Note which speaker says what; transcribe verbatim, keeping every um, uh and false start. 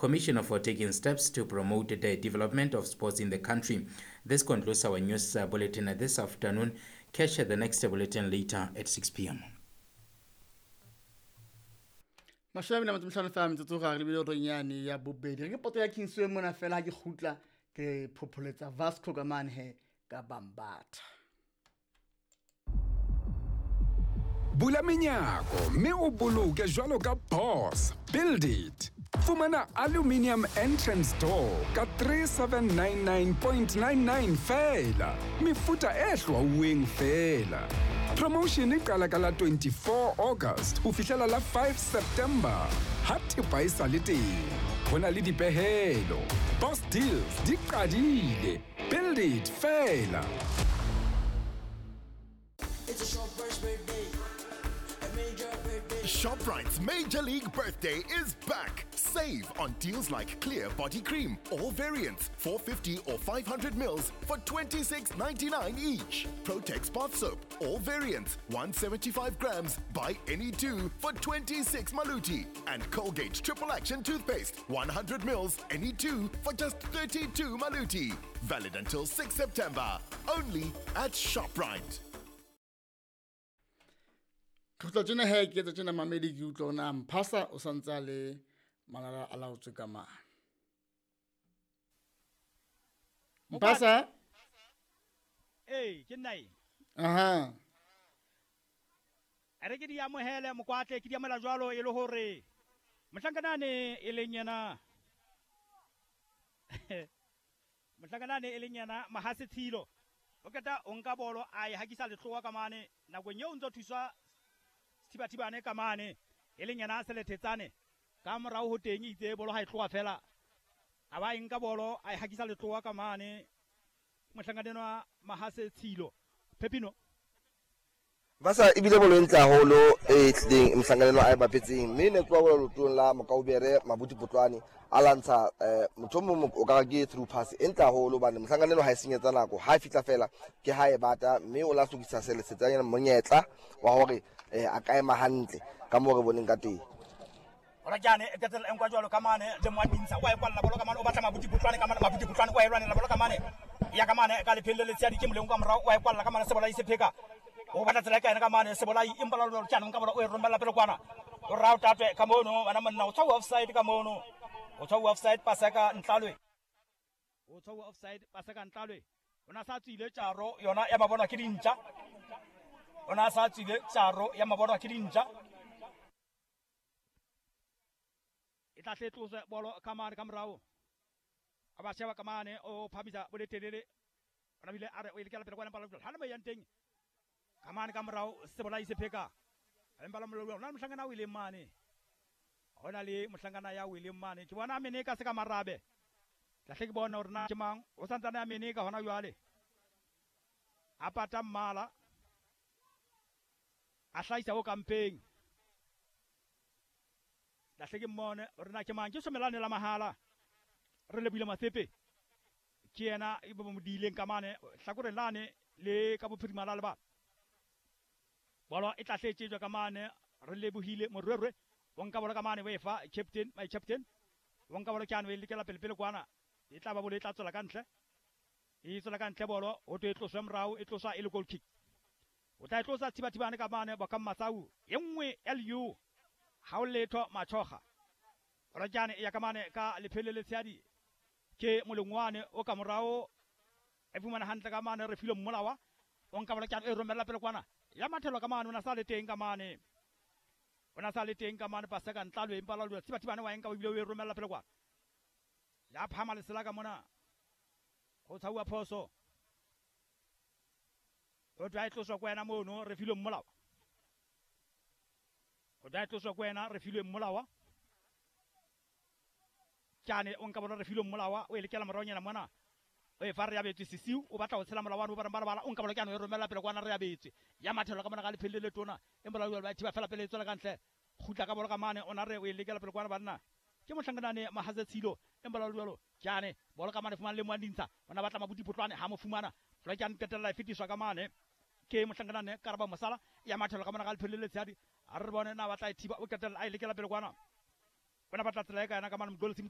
Speaker 1: Commissioner for taking steps to promote the development of sports in the country. This concludes our news bulletin this afternoon. Catch the next bulletin later at six p m
Speaker 2: Mashame na motho fela metsotso ga re bile re nyane ya bobedi re ke poto ya Kingsway mona fela ke khutla ke phopholetsa Vasco ka mane he ka Bambatha.
Speaker 3: Bula menyako mme o boloke jwalo ka boss. Build it. Fumana aluminium entrance door ka three seven nine nine point nine nine fela. Mefuta e hlwauweng fela. Promotion e qala ka la twenty-four August ho fihlela la five September. Ha thepa e sa le teng, ho na le dipehelo. Boss deals di qadile. Build it fela.
Speaker 4: It's a shopper's birthday. A major birthday.
Speaker 5: ShopRite's Major League Birthday is back. Save on deals like Clear Body Cream, all variants, four fifty or five hundred mils for twenty-six ninety-nine each. Protex Bath Soap, all variants, one seventy-five grams, buy any two for twenty-six maluti. And Colgate Triple Action Toothpaste, one hundred mils, any two for just thirty-two maluti. Valid until six September, only at ShopRite.
Speaker 2: Khutla tjena he ke etsa tjena mamedi ke utlwa ona mphasa o santsa le malala a laotswe ka mang. Mphasa?
Speaker 6: Eh, ke nna eng?
Speaker 2: Aha.
Speaker 6: A re ke di amohele mokwatle ke di amohela jwalo e le hore mohlankanane e leng yena mohlankanane e leng yena Mahase Tshilo o keta o nka bolo a e hakisa letlowa ka mane nakong eo o ntso thuswa Thibathibane ka mane e leng yena Selethetsane ka morao ho teng itse bolo ha e tloha fela a ba nka bolo a e hakisa letlowa ka mane mohlankanenwa Mahase Tshilo Pepino
Speaker 7: Basa ebile bolo ntle haholo e tlileng mohlankanenwa a e bapetseng mme ne tloha bolo lotong la Mokaubere Mabuti Potlwane a lantsha motho mong o ka ke through pass e ntle haholo bane mohlankanenwa ha e senyetsa nako ha e fitla fela ke ha e bata mme o la hlokisa seletsetsanyana monyetla wa hore a ka ema hantle ka moo re boneng ka teng.
Speaker 6: Ora jane e ketela enkwa jwalo ka mane le moadinsa wa e kwalla bolo ka mane o batla Mabuti Potlwane ka mane Mabuti Potlwane wa e lwanela bolo ka mane ya ka mane ka lephele le tsadi ke moleng ka morao wa e kwalla ka mane sebolai se pheka o batla tsela ka ena ka mane sebolai empa la lo tjana nka bolo o e romela pele kwana o rao tatwe ka mono bana monna o tshwa offside ka mono o tshwa offside paseka Ntlalwe o tshwa offside paseka Ntlalwe ona sa tswile tjaro yona ya mabona ke dintja ona sa tswile tjaro ya mabona ke dintja e tla hle tloswe bolo ka mane ka morao a ba sheba ka mane o phamisa boletelele ona bile a re o ile pele kwana pala ha le mo yang teng ka mane ka morao sebolai se pheka empa la mollo ona mohlangana o ile mane hona le mohlangana ya o ile mane ke bona mene ka se ka marabe tla hle ke bona hore na ke mang o santsane a mene ka hona jwale a pata mmala a hlaisa o kampeng la hle ke mmone hore na ke mang ke somelane la mahala re lebile Masepe ke yena e bo mo dileng ka mane hlakoreng lane le ka bophirima la leba bolo e tla hletsetswa ka mane re lebohile Morwerwe o nka bolo ka mane o e fa captain my captain o nka bolo ke ano e lekela pele pele kwana e tla ba bolo e tla tswela ka ntle e tswela ka ntle bolo ho twe e tloswe morao e tloswa e le goal kick o tla e tlosa Thibathibane ka mane ba ka Masau e nngwe L U ha o letho Machoga Rajane ya ka mane ka lephele le tsadi ke molengwane o ka morao e fumana hantle ka mane re file mmolawa o nka bolo ke e romela pele kwana ya mathelo ka mane ona sa le teng ka mane ona sa le teng ka mane paseka Ntlalwe empa la Thibathibane wa enka o bile o e romela pele kwana ya phama lesela ka mona go tshauwa phoso o tla tloswa kwa ena mono re file mmolawa o tla tloswa kwa ena re file mmolawa Tjane o nka bona re file mmolawa o e lekela moraonyana mona o e fa re abetswe sisiu o batla ho tshela molao wa ba ba o nka bona ke ano e romela pele kwana re abetswe ya mathelo ka mona ga lephele le tona empa la ba thiba fela pele e tswela ka ntle kgutla ka bolo ka mane ona re o e lekela pele kwana banna ke mohlankanane Mahaze Tshilo empa la jwalo Tjane bolo ka mane fumana le moandintsha ona batla Mabuti Potlwane ha mo fumana fela ke an qetella e fetiswa ka mane ke mohlankanane Karaba Mosala ya mathelo ka mona ga lephele le tshadi a re bone na batla e thiba o qetella a e lekela pele kwana bona batla tsela e ka yena ka mane Mgolisi